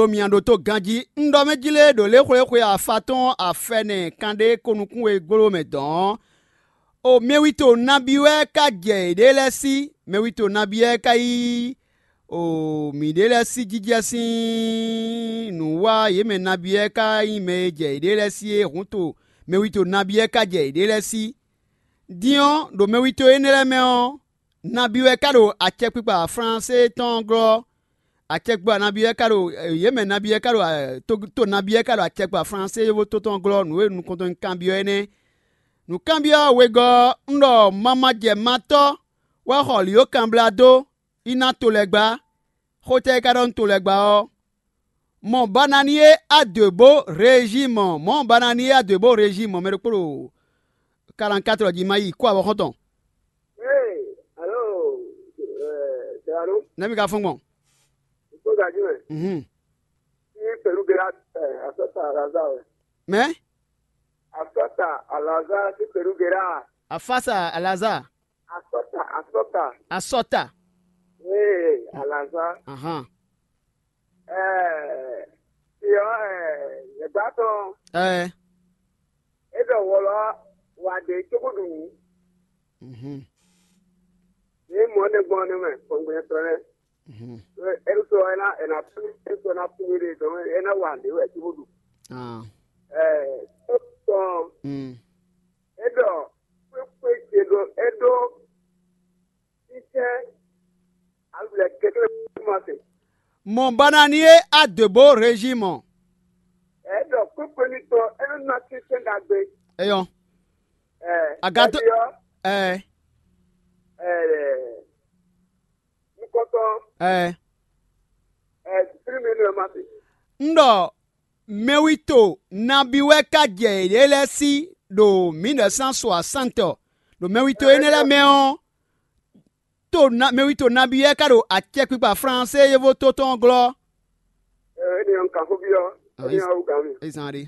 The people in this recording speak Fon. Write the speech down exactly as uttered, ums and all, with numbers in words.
Ɖo mǐ ɖótó ganjí, un ɖɔ mɛ jí lé ɖo lě xwléxwe afa tɔn afɛnɛ kanɖé ko nukún e gló mɛ dɔn ɔ́, o mɛwito nabí wɛ ka jɛ yěɖée lɛ́ɛ sí? Mɛwito nabí wɛ ka yí o mǐɖée lɛ́ɛ sí jijɛ sín nǔ wá yě mɛ nabí wɛ ka nyí mɛ e jɛ yěɖée lɛ́ɛ sí é hǔn to mɛwito nabí wɛ ka jɛ yěɖée lɛ́ɛ sí? Din ɔ́, ɖo mɛwito énɛ́ lɛ́ɛ mɛ ɔ́, nabí wɛ ka ɖo acɛkpikpa Flánse tɔn ɔ́ glɔ́. Acɛkpikpa nabí wɛ ka ɖo yě mɛ nabí wɛ ka ɖo to nabí wɛ ka ɖo acɛkpikpa Flánse yovóto tɔn glɔ́. Nǔ e nukɔntɔn kanbyɔ́ é nɛ́. Nǔkanbyɔ́ wegɔ́ ɔ́, un ɖɔ mamajɛmatɔ́ wɛ xɔ lǐ ó kanblá dó, í ná to lɛ́ɛ gbá. Xó tɛ́ é ka ɖɔ nú to lɛ́ɛ gbá ɔ́? Mɔ Bananiye Adwebo Rejimɔ, mɔ̌ Bananiye Adwebo Rejimɔ, mɛ ɖokpó ɖo kalankatɔ́ jí ma yi kó avɔ xɔ́ntɔn. Ee, alo, Dɛlanu, nɛ́ mi ka fɔ́n gbɔn? Kpó gají mɛ. Mhm. Ní Pɛlúgera, asɔta Alaza wɛ. Mɛ? Asɔta Alaza sí Pɛlúgera. Afasa Alaza. Asɔta, asɔta. Asɔta. Ee, Alaza. Ahan. Ɛɛ, si ɔ, ɛɛ, yɛgba tɔn. Ɛɛ. E ɖɔ wɔlɔ wa ɖe cogo ɖu nǔ. Mhm. Ní mɔ ne gbɔn ne mɛ kɔngbɛn tɔn nɛ. Mhm. E ɖo sɔ ɛna ɛna tún e sɔ na tún ɖe dɔn ɛna wa ɖe wɛ cogo ɖu. Ah. Ɛɛ, tɔn. Mm. E ɖɔ kpekpe ce ɖo e ɖo Títɛ́ alulɛ kɛkɛ́ ma se. Mɔ Bananiye Adwebo Rejimɔ. Ɛ ɖɔ kpékpé ní tɔn é nɔ ná títɛ́ ɖagbe. Eyɔ. Ɛ Agato. Ɛyɔ. Ɛ. Ɛ nukɔtɔn. Ɛ. Ɛ firi mi nɔ ma se. N ɖɔ mɛwito nabí wɛ ka jɛ yě lɛ́ɛ sí ɖo mǐɖɛsán so asantɔ ɖo mɛwito énɛ́ lɛ́ɛ mɛ ɔ́, to na mɛwito nabí wɛ ka ɖo acɛkpikpa Flánse yovóto tɔn glɔ́. Ɛ, énɛ́ ɔ́, un kan xó byɔ́. Ah, énɛ́ ɔ́ wú gǎn mi. Ezan ɖe.